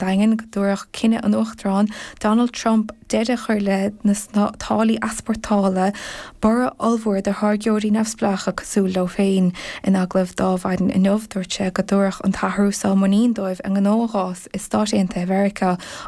Daingean go dtabharfadh cinneadh an Uachtaráin Donald Trump deireadh a chur le na táillí easpórtála borradh ollmhór do tháirgeoirí neamhspleácha cosúil leo féin. In agallamh d'Adhmhaidin inniu, dúirt sé go dtabharfadh an t-athrú seo muinín dóibh a ngnó a dh'fhás i Stáit Aontaithe Mheiriceá.